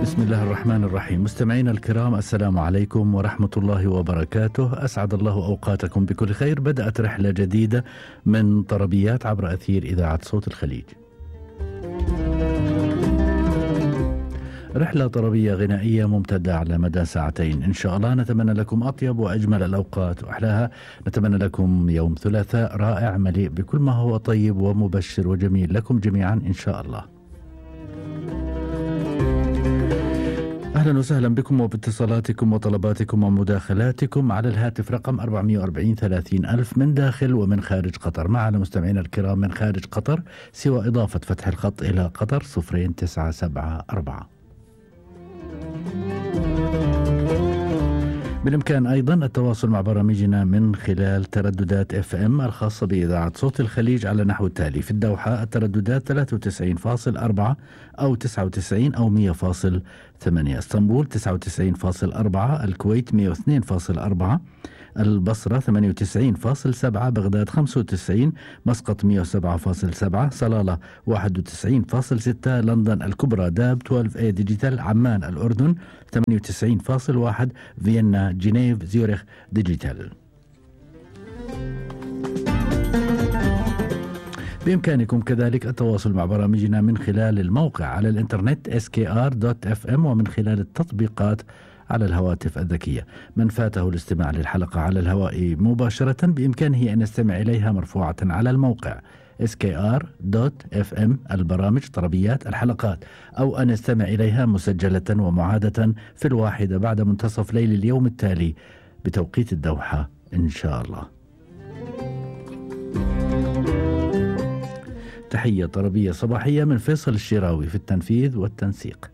بسم الله الرحمن الرحيم. مستمعينا الكرام، السلام عليكم ورحمة الله وبركاته. أسعد الله أوقاتكم بكل خير. بدأت رحلة جديدة من طربيات عبر أثير إذاعة صوت الخليج. رحلة طربية غنائية ممتدة على مدى ساعتين إن شاء الله. نتمنى لكم أطيب وأجمل الأوقات وأحلاها. نتمنى لكم يوم ثلاثاء رائع مليء بكل ما هو طيب ومبشر وجميل لكم جميعا إن شاء الله. أهلا وسهلا بكم وباتصالاتكم وطلباتكم ومداخلاتكم على الهاتف رقم 440 30 ألف من داخل ومن خارج قطر. معنا مستمعينا الكرام من خارج قطر سوى إضافة فتح الخط إلى قطر 0974. بالإمكان أيضا التواصل مع برامجنا من خلال ترددات FM الخاصة بإذاعة صوت الخليج على نحو التالي: في الدوحة الترددات 93.4 أو 99 أو 100.8، اسطنبول 99.4، الكويت 102.4، البصرة 98.7، بغداد 95، مسقط 107.7، صلالة 91.6، لندن الكبرى داب 12A ديجيتال، عمان الأردن 98.1، فيينا جنيف زيورخ ديجيتال. بإمكانكم كذلك التواصل مع برامجنا من خلال الموقع على الإنترنت skr.fm ومن خلال التطبيقات على الهواتف الذكية. من فاته الاستماع للحلقة على الهواء مباشرة بإمكانه أن يستمع إليها مرفوعة على الموقع skr.fm البرامج طربيات الحلقات، أو أن يستمع إليها مسجلة ومعادة في 1 بعد منتصف ليل اليوم التالي بتوقيت الدوحة إن شاء الله. تحية طربية صباحية من فيصل الشراوي في التنفيذ والتنسيق.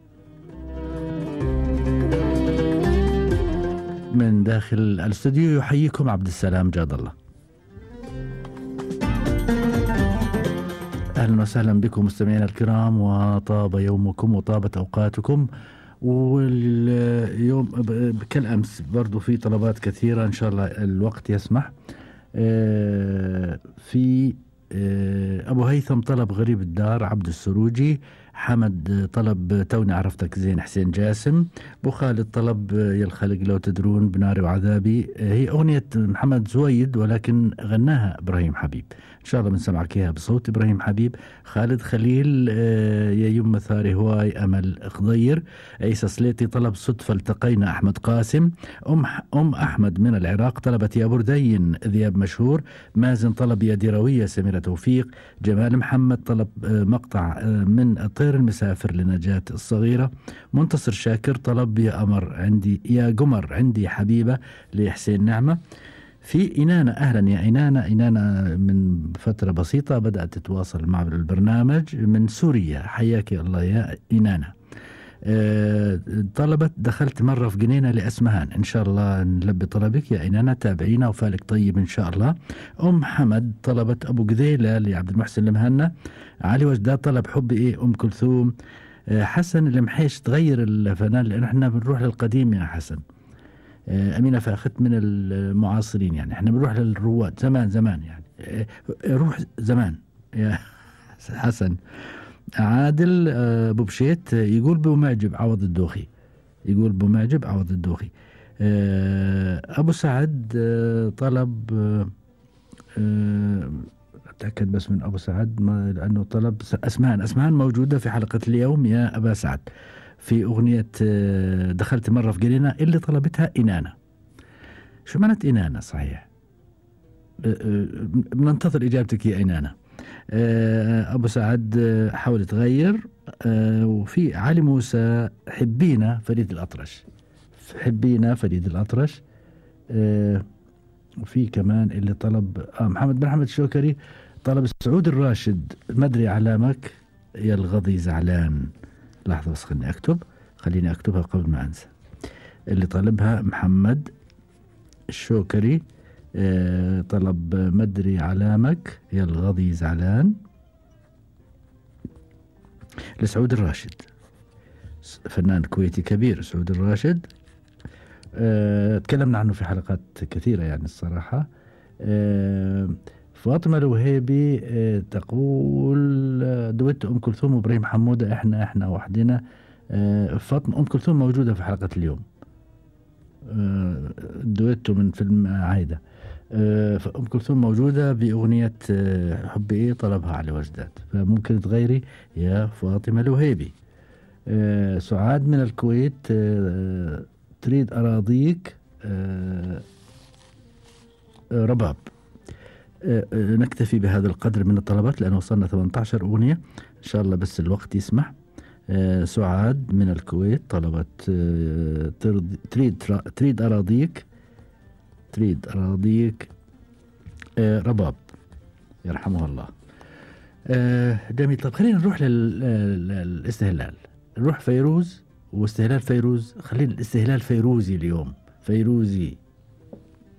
من داخل الاستوديو يحييكم عبد السلام جاد الله. أهلا وسهلا بكم مستمعينا الكرام، وطاب يومكم وطابت أوقاتكم. واليوم كالأمس برضو في طلبات كثيرة إن شاء الله الوقت يسمح. في أبو هيثم طلب غريب الدار عبد السروجي، حمد طلب توني عرفتك زين حسين جاسم، أبو خالد طلب يا الخلق لو تدرون بناري وعذابي. هي أغنية محمد زويد ولكن غناها إبراهيم حبيب، إن شاء الله بنسمعك إياها بصوت إبراهيم حبيب. خالد خليل يا يم ثاري هواي أمل خضير. عيسى سليتي طلب صدفة التقينا أحمد قاسم. أم أحمد من العراق طلبت يا بردين ذياب مشهور. مازن طلب يا ديروية سميرة توفيق. جمال محمد طلب مقطع من الطير المسافر لنجاة الصغيرة. منتصر شاكر طلب يا قمر عندي حبيبة لحسين نعمة. في إنانة، أهلا يا إنانة من فترة بسيطة بدأت تتواصل مع البرنامج من سوريا، حياك الله يا إنانة. طلبت دخلت مرة في جنينة لأسمهان، إن شاء الله نلبي طلبك يا إنانة، تابعينا وفالك طيب إن شاء الله. حمد طلبت أبو قذيلة لعبد المحسن المهنا. علي وجداد طلب حب إيه أم كلثوم. حسن المحيش تغير الفنان لأن احنا بنروح للقديم يا حسن. أمينة فاخت من المعاصرين، يعني احنا بنروح للرواد زمان يعني روح زمان يا حسن. عادل أبو بشيت يقول بمعجب عوض الدوخي، أبو سعد طلب أتأكد بس من أبو سعد لأنه طلب أسمان موجودة في حلقة اليوم يا أبا سعد في أغنية دخلت مرة في جنينة اللي طلبتها إنانة. شو معنات إنانة صحيح؟ بننتظر إجابتك يا إنانة. أبو سعد حاول تغير. وفي علي موسى حبينا فريد الأطرش. وفي كمان اللي طلب محمد بن حمد الشوكري طلب سعود الراشد مدري علامك يا الغضي زعلان. لحظة بس خليني أكتبها قبل ما أنسى. اللي طلبها محمد الشوكري طلب مدري علامك يا الغضي زعلان لسعود الراشد، فنان كويتي كبير سعود الراشد. تكلمنا عنه في حلقات كثيرة يعني الصراحة. فاطمة الوهيبي تقول دويت أم كلثوم وإبراهيم حمودة إحنا وحدنا فاطمة أم كلثوم موجودة في حلقة اليوم. دويتو من فيلم عايدة. فأم كلثوم موجودة بأغنية حب إيه طلبها علي وجدات، فممكن تغيري يا فاطمة الوهيبي. سعاد من الكويت تريد أراضيك رباب. نكتفي بهذا القدر من الطلبات لأنه وصلنا 18 أغنية إن شاء الله بس الوقت يسمح. سعاد من الكويت طلبت تريد أراضيك رباب يرحمه الله. جميل. طب خلينا نروح للاستهلال، نروح فيروز واستهلال فيروز. خلينا الاستهلال فيروزي اليوم، فيروزي.